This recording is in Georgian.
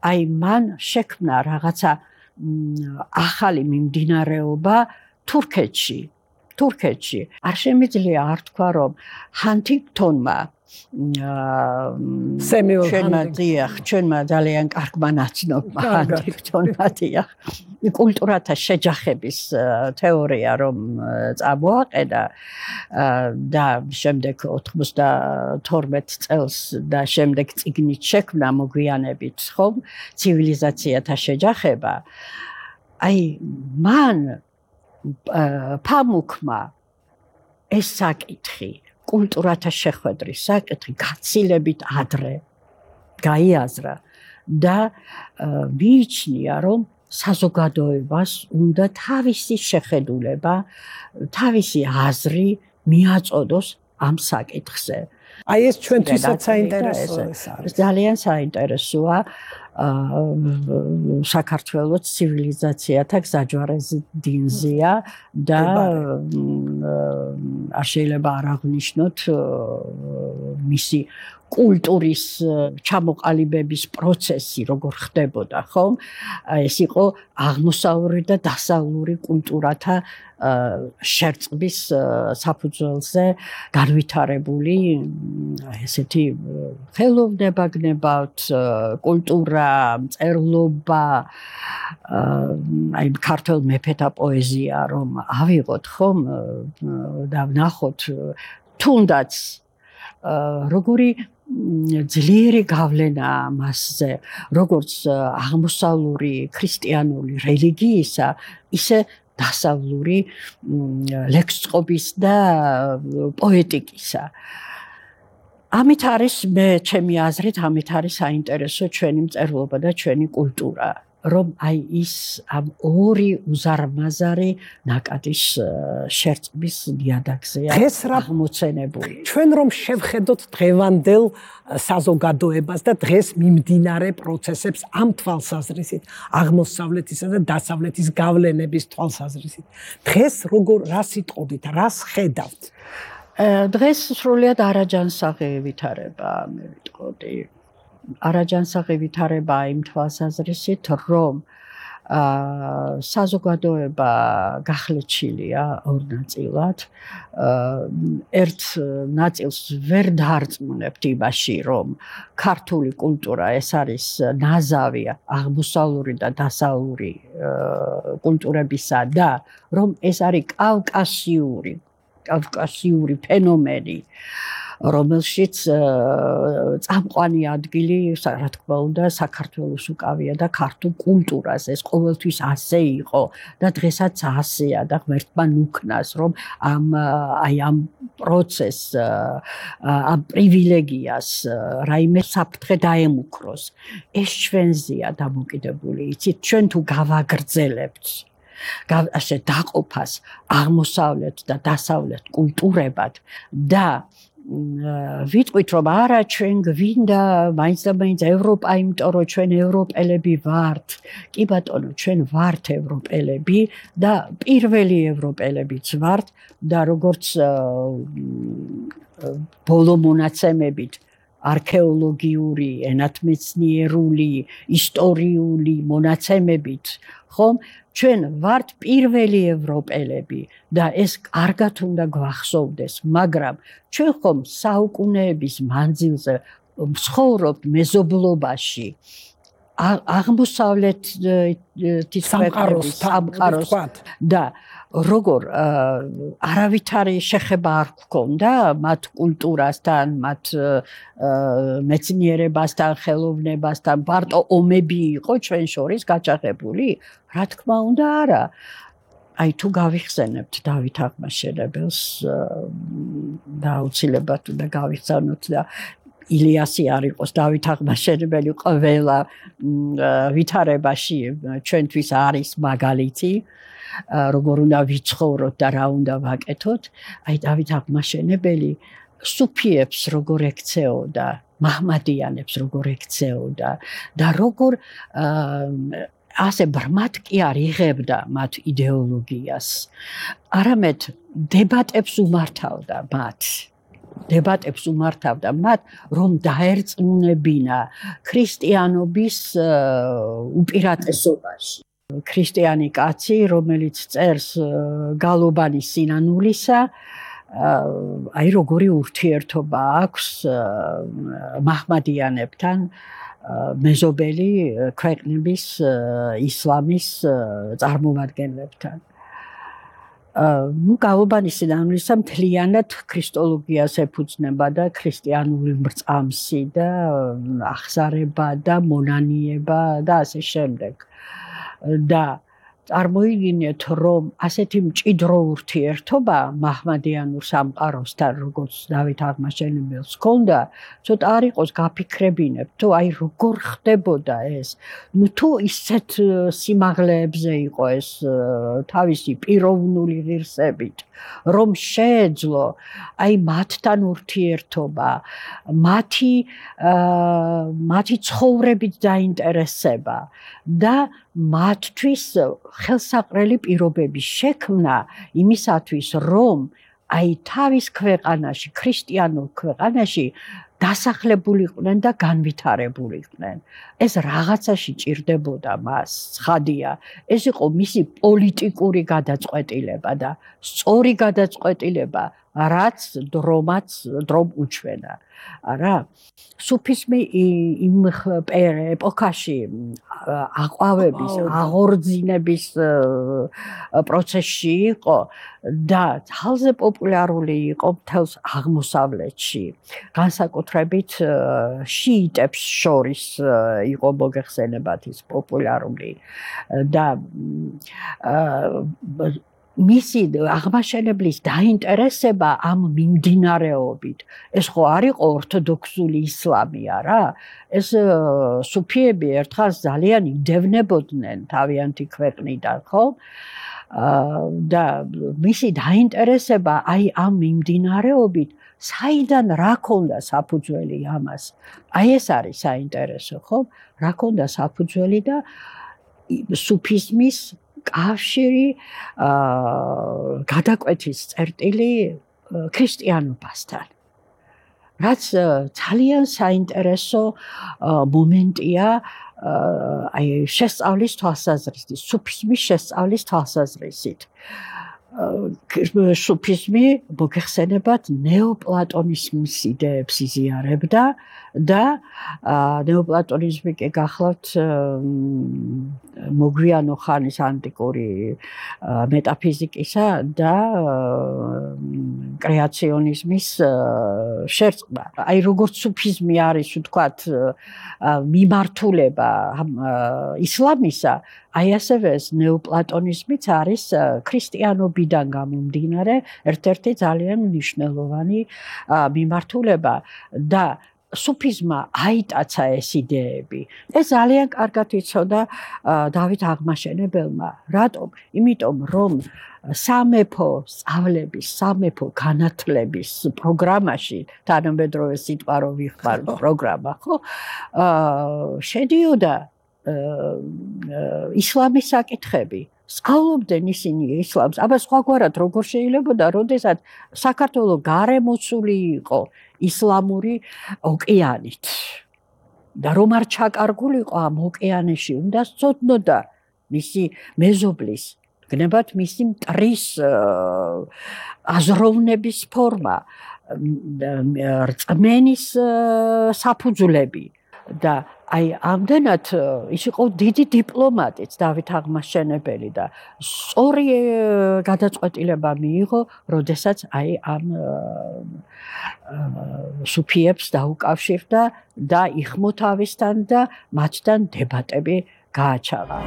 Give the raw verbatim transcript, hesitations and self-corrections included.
აი მან შექმნა რაღაცა ახალი მიმდინარეობა თურქეთში. თურქეთში არ შემიძლია არ თქვა რომ ჰანტინგტონმა ჩვენმა დიახ ჩვენმა ძალიან კარგმა ნაცნობმა ჰანტინგტონმა დიახ კულტურათა შეჯახების თეორია რომ წამოაყენა და შემდეგ ოთხმოცდათორმეტ წელს და შემდეგ წიგნით შექმნა მოგვიანებით ხომ ცივილიზაციათა შეჯახება აი მან ფამუქმა ეს საკითხი კულტურათა შეხვედრის საკითხი გაცილებით ადრე გაიაზრა და მიიჩნია რომ საზოგადოებას უნდა თავისი შეხედულება, თავისი აზრი მიაწოდოს ამ საკითხზე. აი ეს ჩვენთვისაც საინტერესოა. ძალიან საინტერესოა საქართველოს ცივილიზაციათა გზაჯვარეზე დინზია და არ შეიძლება არ აღნიშნოთ მისი კულტურის ჩამოყალიბების პროცესი როგორ ხდებოდა, ხომ? ეს იყო აღმოსავლური და დასავლური კულტურათა შერწყმის საფუძველზე განვითარებული ესეთი ხელოვნება გნებავთ, კულტურა, მწერლობა, აი ქართულ მეფეთა პოეზია რომ ავიღოთ, ხომ? და ვნახოთ თუნდაც როგორი ძლიერი გავლენა მასზე, როგორც აღმოსავლური ქრისტიანული რელიგიისა, ისე დასავლური ლექსწყობის და პოეტიკისა. ამით არის მე ჩემი აზრით, ამით არის საინტერესო ჩვენი მწერლობა და ჩვენი კულტურა. რომ აი ის ამ ორი უზარმაზარი ნაკადის შერწყმის ნიადაგზეა აღმოცენებული. ჩვენ რომ შევხედოთ დღევანდელ საზოგადოებას და დღეს მიმდინარე პროცესებს ამ თვალსაზრისით, აღმოსავლეთისა და დასავლეთის გავლენების თვალსაზრისით. დღეს როგორ რას იტყოდით, რას ხედავთ? დღეს სრულიად არაჯანსაღი ვითარება მე ვიტყოდი. არაჯანსაღი ვითარება იმ თვალსაზრისით, რომ საზოგადოება გახლეჩილია ორ ნაწილად. ერთ ნაწილს ვერ დაარწმუნებთ იმაში, რომ ქართული კულტურა ეს არის ნაზავი აღმოსავლური და დასავლური კულტურებისა და რომ ეს არის კავკასიური, კავკასიური ფენომენი. რომელშიც წამყვანი ადგილი, რა თქმა უნდა, საქართველოს უკავია და ქართულ კულტურას. ეს ყოველთვის ასე იყო და დღესაც ასეა და ღმერთმა ნუქნას, რომ ამ აი ამ პროცესს, ამ პრივილეგიას რაიმე საფრთხე დაემუქროს. ეს ჩვენზეა დამოკიდებული, იცით, ჩვენ თუ გავაგრძელებთ ასე დაყოფას აღმოსავლეთ და დასავლეთ კულტურებად და ვიტყვით რომ არა ჩვენ გვინდა მაინც და მაინც ევროპა, იმიტომ რომ ჩვენ ევროპელები ვართ. კი ბატონო, ჩვენ ვართ ევროპელები და პირველი ევროპელებიც ვართ და როგორც ბოლო მონაცემებით არქეოლოგიური, ენათმეცნიერული, ისტორიული მონაცემებით, ხომ? ჩვენ ვართ პირველი ევროპელები და ეს კარგად უნდა გვახსოვდეს, მაგრამ ჩვენ ხომ საუკუნეების მანძილზე ვცხოვრობთ მეზობლობაში, აღმოსავლეთის სამყაროს და როგორ არავითარი შეხება არ გქონდა მათ კულტურასთან, მათ მეცნიერებასთან, ხელოვნებასთან, მარტო ომები იყო ჩვენ შორის გაჭაღებული? რა თქმა უნდა, არა. აი თუ გავიხსენებთ დავით აღმაშენებელს და აუცილებლად უნდა გავიხსენოთ და ილიასი არ იყოს დავით აღმაშენებელი ყველა ვითარებაში ჩვენთვის არის მაგალითი. როგორ უნდა ვიცხოვროთ და რა უნდა ვაკეთოთ. აი დავით აღმაშენებელი სუფიებს როგორ ექცეოდა, მაჰმადიანებს როგორ ექცეოდა და როგორ ასე ბრმად კი არ იღებდა მათ იდეოლოგიას. არამედ დებატებს უმართავდა მათ. დებატებს უმართავდა მათ, რომ დაერწმუნებინა ქრისტიანობის უპირატესობაში. ქრისტიანი კაცი, რომელიც წერს გალობანი სინანულისა, აი როგორი ურთიერთობა აქვს მაჰმადიანებთან, მეზობელი ქვეყნების ისლამის წარმომადგენლებთან. ნუ გალობანი სინანულისა მთლიანად ქრისტოლოგიას ეფუძნება და ქრისტიანული მრწამსი და აღზარება და მონანიება და ასე შემდეგ. და წარმოიდგინეთ, რომ ასეთი მჭიდრო ურთიერთობა მაჰმადიანურ სამყაროსთან, როგორც დავით აღმაშენებელს ჰქონდა, ცოტა არ იყოს გაფიქრებინებ, თუ აი როგორ ხდებოდა ეს. ნუ თუ ისეთ სიმაღლეებზე იყო ეს თავისი პიროვნული ღირსებით, რომ შეეძლო აი მათთან ურთიერთობა, მათი მათი ცხოვრებით დაინტერესება და მათთვის ხელსაყრელი პირობების შექმნა იმისათვის, რომ აი თავის ქვეყანაში, ქრისტიანულ ქვეყანაში დასახლებულიყვნენ და განვითარებულიყვნენ. ეს რაღაცაში ჭირდებოდა მას, ცხადია. ეს იყო მისი პოლიტიკური გადაწყვეტილება და სწორი გადაწყვეტილება, რაც დრომაც დრომ უჩვენა. არა, სუფიზმი იმ ეპოქაში აყვავების, აღორძინების პროცესში იყო და ძალზე პოპულარული იყო მთელს აღმოსავლეთში. განსაკუთრებით შიიტებს შორის იყო მოგეხსენებათ ის პოპულარული და მისი აღმაშენებლის დაინტერესება ამ მიმდინარეობით. ეს ხო არ იყო ორთოდოქსული ისლამი, არა? ეს სუფიები ერთხელ ძალიან იდევნებოდნენ თავიანთი ქვეყნიდან, ხო? და მისი დაინტერესება აი ამ მიმდინარეობით საიდან რა ქონდა საფუძველი ამას? აი ეს არის საინტერესო, ხო? რა ქონდა საფუძველი და სუფიზმის კავშირი გადაკვეთის წერტილი ქრისტიანობასთან. რაც ძალიან საინტერესო მომენტია აი შესწავლის თვალსაზრისით, სუფიზმის შესწავლის თვალსაზრისით. სუფიზმი მოგეხსენებათ ნეოპლატონიზმის იდეებს იზიარებდა და ნეოპლატონიზმი კი გახლავთ მოგვიანო ხანის ანტიკური მეტაფიზიკისა და კრეაციონიზმის შერწყმა. აი როგორც სუფიზმი არის, ვთქვათ, მიმართულება ისლამისა, აი ასევე ეს ნეოპლატონიზმიც არის ქრისტიანობიდან გამომდინარე ერთ-ერთი ძალიან მნიშვნელოვანი მიმართულება და სუფიზმმა აიტაცა ეს იდეები. ეს ძალიან კარგად იცოდა დავით აღმაშენებელმა. რატომ? იმიტომ რომ სამეფო სწავლების, სამეფო განათლების პროგრამაში, თანამედროვე სიტყვა რო ვიხმარ პროგრამა, ხო? შედიოდა ისლამის საკითხები. სწავლობდნენ ისინი ისლამს. აბა სხვაგვარად როგორ შეიძლებოდა, როდესაც საქართველო გარემოცული იყო ისლამური ოკეანით. და რომ არ ჩაკარგულიყო ამ ოკეანეში, უნდა სწოდნოდა მისი მეზობლის, გნებათ მისი მტრის აზროვნების ფორმა, რწმენის საფუძვლები და აი ამდენად ის იყო დიდი დიპლომატიც დავით აღმაშენებელი და სწორი გადაწყვეტილება მიიღო, როდესაც აი ამ სუფიებს დაუკავშირდა და იხმო თავისთან და მათთან დებატები გააჩაღა.